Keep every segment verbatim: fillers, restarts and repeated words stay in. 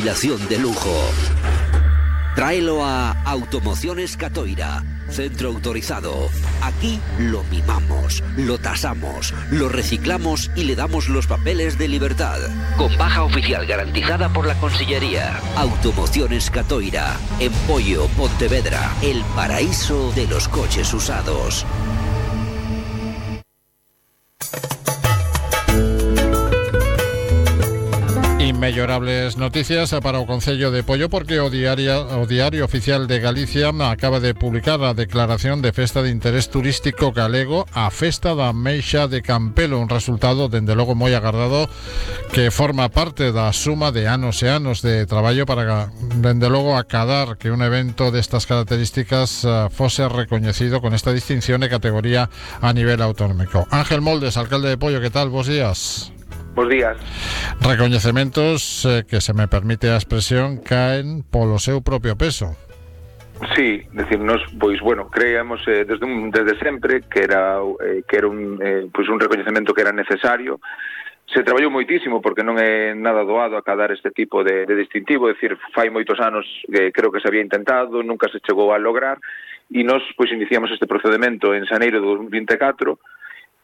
de lujo. Tráelo a Automociones Catoira, centro autorizado. Aquí lo mimamos, lo tasamos, lo reciclamos y le damos los papeles de libertad. Con baja oficial garantizada por la Consellería. Automociones Catoira, en Poio, Pontevedra, el paraíso de los coches usados. Inmellorables noticias para o Concello de Poio, porque o Diario, o Diario Oficial de Galicia acaba de publicar a declaración de festa de interés turístico galego a Festa da Meixa de Campelo, un resultado dende logo moi agardado que forma parte da suma de anos e anos de traballo para dende logo acadar que un evento destas características uh, fose recoñecido con esta distinción de categoría a nivel autonómico. Ángel Moldes, alcalde de Poio, que tal? Bos días. Bos días. Recoñecementos eh, que, se me permite a expresión, caen polo seu propio peso. Sí, decirnos, pois bueno, creíamos eh, desde un, desde sempre que era eh, que era un eh, pois un recoñecemento que era necesario. Se traballou moitísimo porque non é nada doado acadar este tipo de, de distintivo, é dicir, fai moitos anos que creo que se había intentado, nunca se chegou a lograr, e nós pois iniciamos este procedimento en xaneiro de dos mil vinte e catro.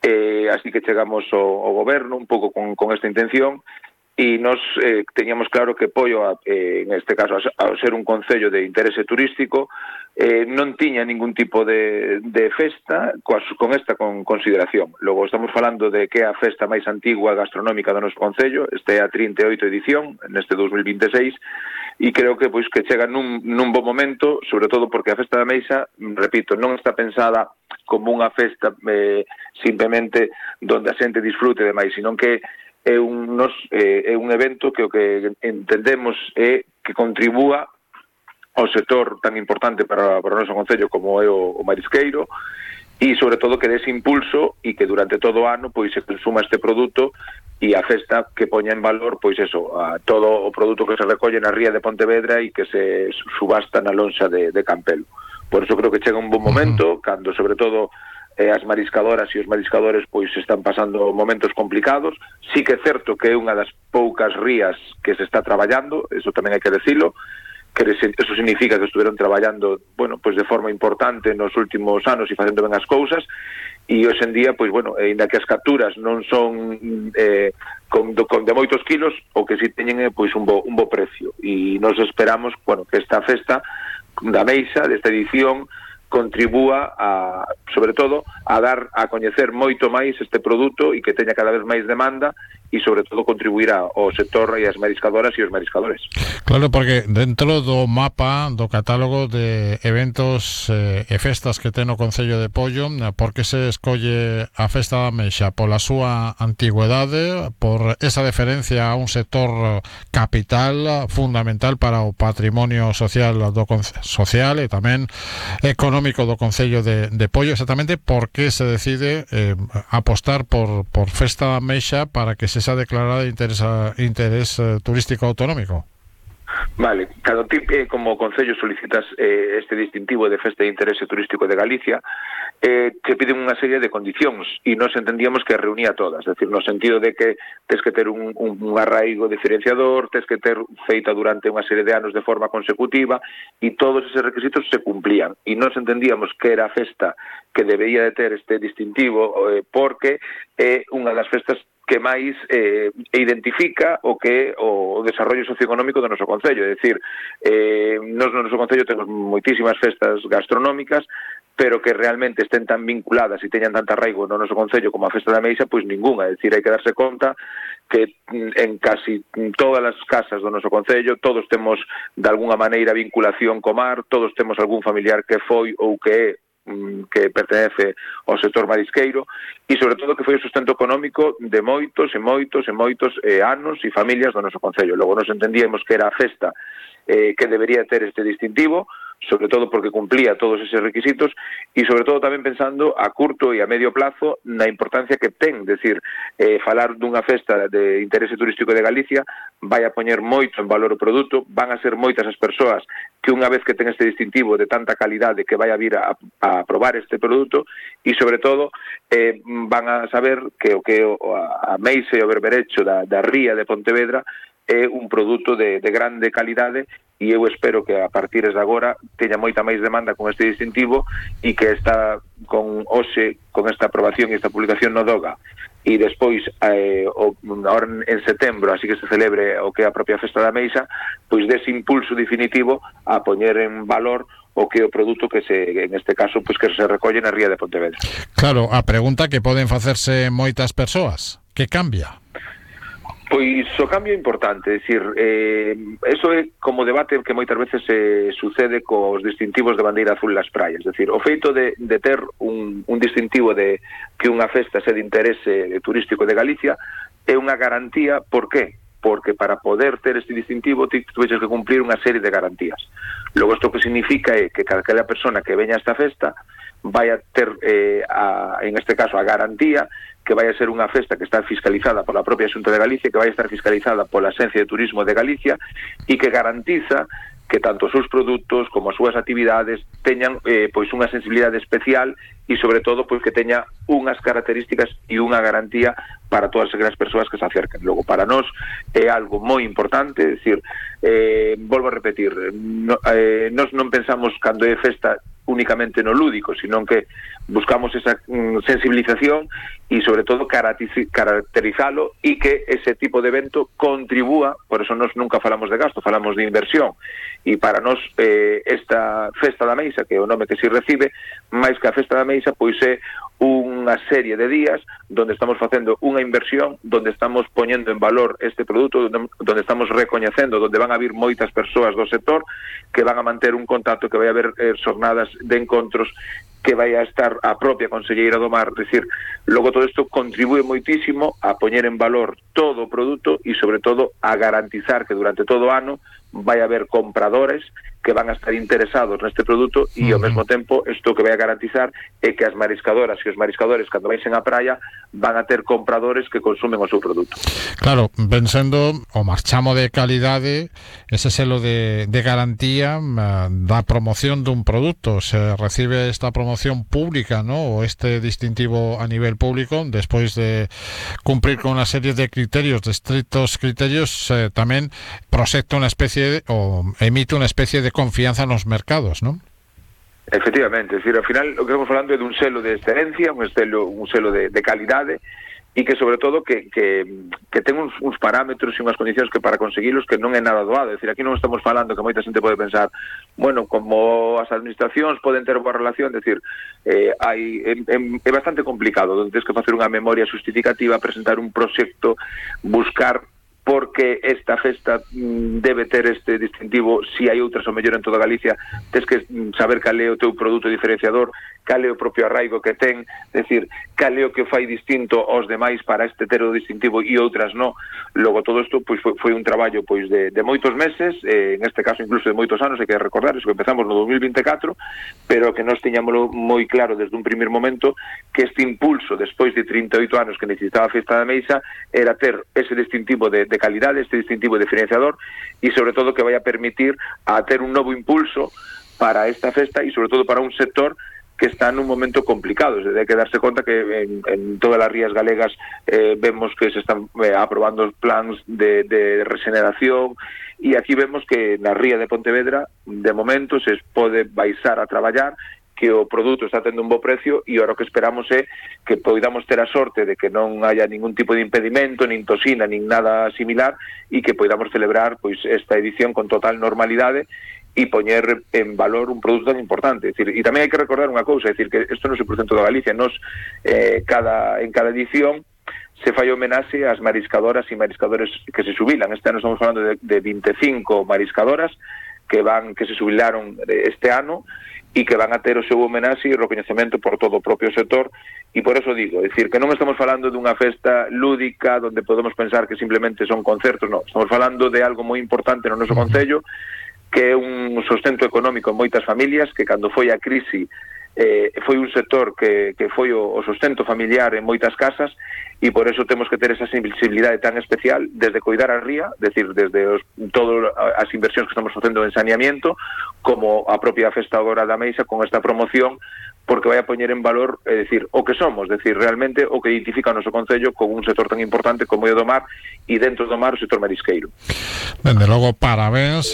Eh, así que chegamos ao, ao goberno un pouco con, con esta intención e nos eh, teníamos claro que Poio, eh, en este caso, ao ser un concello de interese turístico, eh, non tiña ningún tipo de, de festa coas, con esta con consideración. Logo estamos falando de que é a festa máis antigua gastronómica do noso concello, este é a trinta e oito edición, neste dos mil vinte e seis, e creo que pois que chega nun, nun bo momento, sobre todo porque a Festa da Meixa, repito, non está pensada como unha festa eh, simplemente donde a xente disfrute demais, sino que é un, nos, eh, é un evento que o que entendemos é que contribúa ao sector tan importante para, para o noso concello como é o, o marisqueiro, e sobre todo que dese impulso e que durante todo o ano pois se consuma este produto e a festa que poña en valor pois eso, a todo o produto que se recolle na ría de Pontevedra e que se subasta na lonxa de, de Campelo. Por eso creo que chega un bon momento, cando sobre todo eh, as mariscadoras e os mariscadores pois están pasando momentos complicados. Sí que é certo que é unha das poucas rías que se está traballando, eso tamén hai que decilo, que eso significa que estuveron traballando, bueno, pois de forma importante nos últimos anos e facendo ben as cousas, e hoxe en día, pois bueno, ainda que as capturas non son eh, con, con de moitos kilos, o que si teñen é pois un bo, un bo precio, e nos esperamos, bueno, que esta festa da Meixa, desta edición, contribúa a, sobre todo, a dar a coñecer moito máis este produto e que teña cada vez máis demanda e sobre todo contribuirá ao sector e as mariscadoras e os mariscadores. Claro, porque dentro do mapa do catálogo de eventos eh, e festas que ten o Concello de Poio, por que se escolle a Festa da Meixa? Pola súa antigüedade, por esa deferencia a un sector capital fundamental para o patrimonio social do social e tamén económico do Concello de, de Poio, exactamente por que se decide eh, apostar por, por Festa da Meixa para que se xa declarada de interés, interés uh, turístico autonómico? Vale, cada tipo, eh, como Concello solicitas eh, este distintivo de Festa de Interese Turístico de Galicia, eh, te piden unha serie de condicións e nos entendíamos que reunía todas, es decir, no sentido de que tes que ter un, un, un arraigo diferenciador, tes que ter feita durante unha serie de anos de forma consecutiva e todos eses requisitos se cumplían e nos entendíamos que era a festa que debería de ter este distintivo eh, porque é eh, unha das festas que máis eh, identifica o que é o desarrollo socioeconómico do noso concello, é dicir, eh, nos no noso concello temos moitísimas festas gastronómicas, pero que realmente estén tan vinculadas e teñan tanta arraigo no noso concello como a Festa da Meixa, pois ninguna, é dicir, hai que darse conta que en casi todas as casas do noso concello todos temos de alguna maneira vinculación co mar, todos temos algún familiar que foi ou que é que pertenece ao sector marisqueiro e sobre todo que foi o sustento económico de moitos e moitos e moitos eh, anos e familias do noso concello. Logo nos entendíamos que era a festa eh, que debería ter este distintivo, sobre todo porque cumplía todos eses requisitos e sobre todo tamén pensando a curto e a medio plazo na importancia que ten, decir, eh, falar dunha festa de interese turístico de Galicia vai a poñer moito en valor o produto, van a ser moitas as persoas que unha vez que ten este distintivo de tanta calidade que vai a vir a, a probar este produto e sobre todo eh, van a saber que o que a Meixa e o berberecho da, da ría de Pontevedra é un produto de, de grande calidade, e eu espero que a partir de agora teña moita máis demanda con este distintivo, e que esta con hoxe, con esta aprobación e esta publicación no DOGA, e despois eh, o, ahora en setembro, así que se celebre o que é a propia Festa da Meixa, pois dese impulso definitivo a poñer en valor o que é o produto que se, en este caso, pois que se recolle na ría de Pontevedra. Claro, a pregunta que poden facerse moitas persoas, que cambia? Pois o cambio é importante, é dicir, eh, eso é como debate que moitas veces se eh, sucede cos distintivos de bandeira azul nas praias, é dicir, o feito de, de ter un, un distintivo de que unha festa sea de interese turístico de Galicia é unha garantía. Por qué? Porque para poder ter este distintivo ti tuveches que cumplir unha serie de garantías. Logo, isto que significa é que cada persona que veña a esta festa vai a ter, eh, a, en este caso, a garantía que vai a ser unha festa que está fiscalizada pola propia Xunta de Galicia, que vai a estar fiscalizada pola Axencia de Turismo de Galicia, e que garantiza que tanto os seus produtos como as súas actividades teñan eh, pois unha sensibilidade especial, e sobre todo pois que teña unhas características e unha garantía para todas aquelas persoas que se acerquen. Logo, para nós é algo moi importante, é dicir, eh, volvo a repetir, no, eh, nós non pensamos cando é festa únicamente no lúdico, sino que buscamos esa mm, sensibilización e sobre todo caracterizalo, e que ese tipo de evento contribúa. Por eso nós nunca falamos de gasto, falamos de inversión, e para nós eh, esta Festa da Meixa, que é o nome que se recibe, máis que a Festa da Meixa, pois é unha serie de días donde estamos facendo unha inversión, donde estamos poñendo en valor este produto, donde, donde estamos recoñecendo, donde van a vir moitas persoas do sector que van a manter un contacto, que vai a haber eh, xornadas de encontros, que vai a estar a propia Conselleira do Mar. Decir, logo todo isto contribúe moitísimo a poñer en valor todo o produto, e sobre todo a garantizar que durante todo o ano vai a haber compradores que van a estar interesados neste produto, e ao mesmo tempo isto que vai a garantizar é que as mariscadoras e os mariscadores, cando vaixen á praia, van a ter compradores que consumen o seu produto. Claro, pensando o marchamo de calidade, ese selo de, de garantía uh, da promoción dun produto, se recibe esta promoción pública, ¿no? O este distintivo a nivel público, despois de cumprir con unha serie de criterios, de estrictos criterios, eh, tamén proxecta unha especie de, o emite unha especie de confianza nos mercados, ¿no? Efectivamente, es decir, ao final o que estamos falando é dun selo de excelencia, un selo, un selo de, de calidade, e que sobre todo que, que, que ten uns, uns parámetros e unhas condicións que para conseguilos que non é nada doado. É dicir, aquí non estamos falando que moita xente pode pensar, bueno, como as administracións poden ter boa relación, é dicir, eh, hai, é, é bastante complicado, onde tens que facer unha memoria justificativa, presentar un proxecto, buscar porque esta festa mm, debe ter este distintivo, si hai outras o mellor en toda Galicia, tens que saber cal é o teu produto diferenciador, cal é o propio arraigo que ten, é dicir, cal é o que fai distinto aos demais para este ter o distintivo e outras non. Logo, todo isto pois, foi, foi un traballo pois de, de moitos meses, eh, en este caso incluso de moitos anos, hai que recordar, eso que empezamos no dos mil vinte e catro, pero que nós tiñámoslo moi claro desde un primer momento, que este impulso, despois de trinta e oito anos que necesitaba a Festa da Meixa, era ter ese distintivo de, de calidade, este distintivo diferenciador, e sobre todo que vai a permitir a ter un novo impulso para esta festa, e sobre todo para un sector que está nun momento complicado. Desde hai que darse conta que en, en todas as rías galegas eh, vemos que se están eh, aprobando os plans de, de regeneración, e aquí vemos que na ría de Pontevedra de momento se pode baixar a traballar, que o produto está tendo un bo precio, e agora o que esperamos é que poidamos ter a sorte de que non haya ningún tipo de impedimento, nin tosina, nin nada similar, e que poidamos celebrar pois esta edición con total normalidade e poñer en valor un produto tan importante. É dicir, e tamén hai que recordar unha cousa, é dicir, que isto non é cen por cento da Galicia, nos eh, cada, en cada edición se fai homenaxe ás mariscadoras e mariscadores que se xubilan. Este ano estamos falando de, de vinte e cinco mariscadoras que van que se xubilaron este ano, e que van a ter o seu homenaxe e recoñecemento por todo o propio sector. E por eso digo, é dicir, que non estamos falando dunha festa lúdica onde podemos pensar que simplemente son concertos, non, estamos falando de algo moi importante no noso concello, que é un sustento económico en moitas familias, que cando foi a crise eh, foi un sector que, que foi o, o sustento familiar en moitas casas, e por eso temos que ter esa sensibilidade tan especial desde coidar a ría, decir, desde os, todas as inversións que estamos facendo en saneamiento, como a propia Festa agora da Meixa con esta promoción, porque vai a poñer en valor, é dicir, o que somos, decir, realmente o que identifica o noso concello con un sector tan importante como é o do mar, e dentro do mar o sector marisqueiro. Dende logo, parabéns